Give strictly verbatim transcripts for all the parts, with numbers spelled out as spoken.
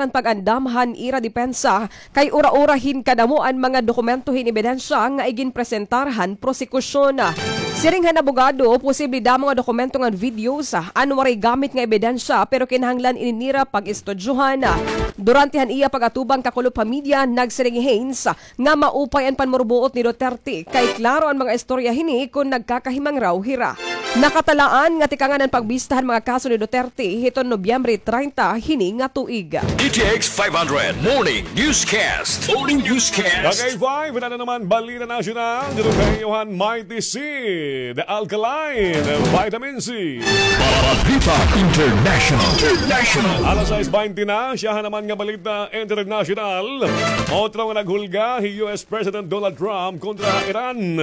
an pag-andam han ira depensa kay ura-ura hin kadamo an mga dokumento hin ebidensya nga iginpresentar han prosekusyon. Siring han abogado, posible damo nga dokumento ngan videos an waray gamit nga ebidensya pero kinahanglan ini nira pag-estudyohan. Durante han iya pag-atubang kakulop ha media, nagsiring hi Haynes nga maupay an panmurubuot ni Duterte kay klaro an mga istorya hini kon nagkakahimangraw hira. Nakatalaan nga tikangan an pagbista han mga kaso ni Duterte hiton Nobyembre treinta hini nga tuig. D T X five hundred Morning Newscast. Morning Newscast. Kagay five, wala na naman balita nasyonal. Dito kay Johan Mighty C, The Alkaline, Vitamin C. Balita International. International. Alas sais baynte na, siya naman nga balita international. Otro nga naghulga hi U S President Donald Trump kontra ha Iran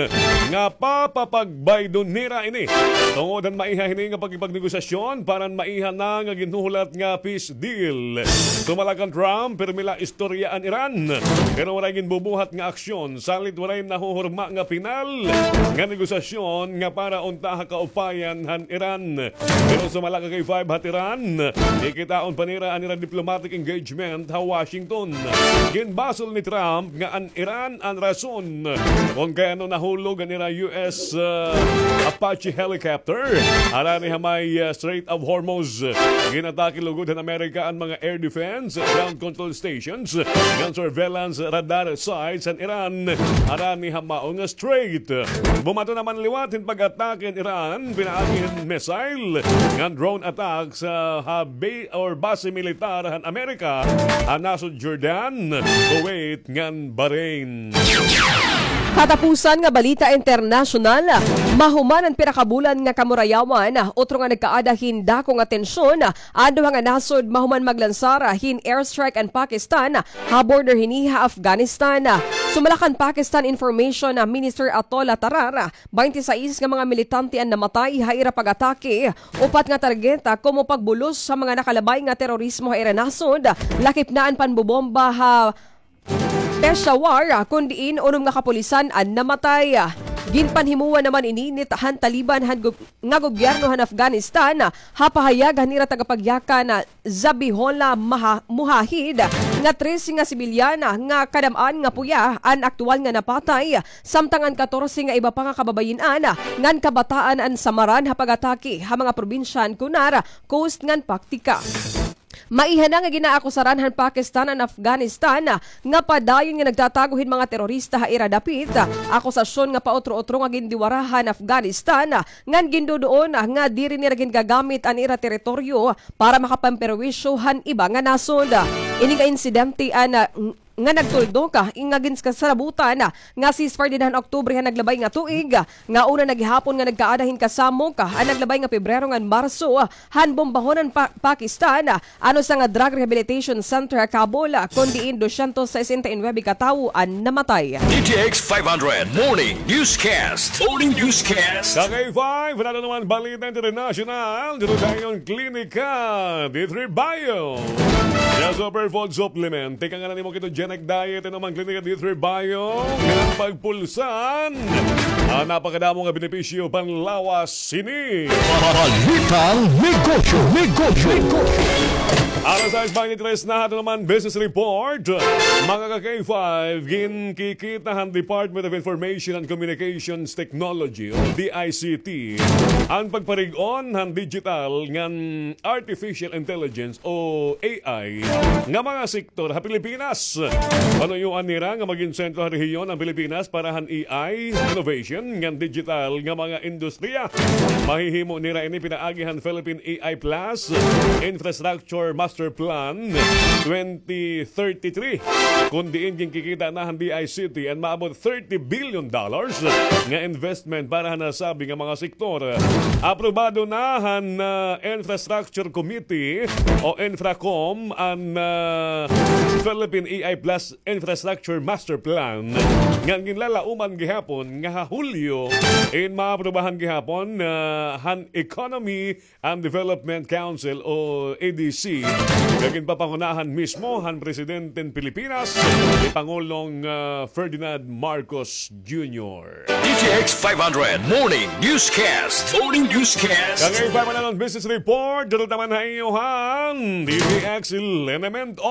nga papapagbaydon nira ini tungod han maiha hini nga pakipagnegosasyon para han maiha na nga ginhuhulat nga peace deal. Sumala kan Trump, pirmi la istorya an Iran, pero waray ginbubuhat nga aksyon salit waray nahuhurma nga pinal nga negosasyon nga para unta ha kaupayan han Iran. Pero sumala kagay five ha Tehran, kikitaon pa nira an ira diplomatic engagement ha Washington. Ginbasol ni Trump nga an Iran an rason kon kay ano nahulog an ira U S, uh, Apache helicopter harani ha may, uh, Strait of Hormuz. Ginatake lugod han Amerika an mga air defense, ground control stations, ngan surveillance radar sites han Iran harani ha mao nga strait. Bumaton naman liwat hin pag-atake an Iran pinaagi hin missile ngan drone attacks, uh, ha ba-, or base militar han Amerika ha nasod Jordan, Kuwait ngan Bahrain. Katapusan nga balita internasyonal, mahuman an pira ka bulan nga kamurayawan, otro nga nagkaada hin dako nga tensyon an duha nga nasod mahuman maglansar hin airstrike an Pakistan ha border hini ha Afghanistan. Sumala kan Pakistan Information Minister Atollah Tarar, baynte sais nga mga militante an namatay ha ira pag-atake. Upat nga targeta komo pagbulos sa mga nakalabay nga terorismo ha ira nasod, lakip na an panbobomba ha Peshawar, kon diin unom nga kapulisan an namatay. Ginpanhimuan naman ini ni han Taliban han gob-, nga gobyerno han Afghanistan ha pahayag han ira tagapagyakan Zabihullah Maha-, Mujahid nga trese nga sibilyan nga kadam-an nga puya an aktuwal nga napatay, samtang an katorse nga iba pa nga kababayin-an ngan kabataan an samaran ha pag-atake ha mga probinsya han Kunar, Khost ngan Paktika. Maiha na nga ginaakusaran han Pakistan an Afghanistan nga padayon nga nagtatago hin mga terorista ha ira dapit. Akusasyon nga pautro-utro nga gindiwara han Afghanistan ngan ginduduon nga diri nira gingagamit an ira teritoryo para makapamperwisyo han iba nga nasod. Ini nga insidente an, ah, nga nagtuldok, ah, nga ginkasabutan, ah, nga ceasefire dinhi han Oktubre han naglabay nga tuig, ah, nga una na gihapon nga nagkaada hin kasamok, ah, an naglabay nga Pebrero ngan Marso, ah, han bombahon han Pa-, Pakistan, ah, an usa nga drug rehabilitation center ha Kabul, ah, kon diin dosyentos sesenta y nuebe ka tawo an namatay. D T X five hundred Morning Newscast. Morning Newscast. Kagay five, wala na naman balita international. Dito tayo ang Klinika D three Bio. Sa Superfood Supplement, teka nga na nimo ketogenic diet, ano man Klinika D three Bio, nga pagpulsan. Ang napakadamo nga benepisyo panlawas sini. Balitang negosyo, negosyo, negosyo. Alas sais baynte tres na, ato naman business report. Mga ka-K five, ginkikita han Department of Information and Communications Technology o D I C T an pagparig-on han digital ngan artificial intelligence o A I nga mga sektor ha Pilipinas. Panuyoan nira nga magin sentro ha rehiyon an Pilipinas para han A I innovation ngan digital nga mga industriya. Mahihimo nira ini pinaagi han Philippine A I Plus Infrastructure Master Plan twenty thirty-three, kon diin ginkikita na han D I C T an maabot thirty billion dollars nga investment para han nasabi nga mga sektor. Aprobado na han, ah, Infrastructure Committee o Infracom an, ah, Philippine A I Plus Infrastructure Master Plan nga ginlalauman gihapon nga ha Hulyo in maaprubahan gihapon, ah, han Economy and Development Council o E D C, nga ginpapangunahan mismo han Presidente han Pilipinas, ni Pangulong, ah, Ferdinand Marcos Junior. D T X five hundred Morning Newscast. Morning Newscast. Kagay pa man an business report, dito naman ha iyo han D T X Liniment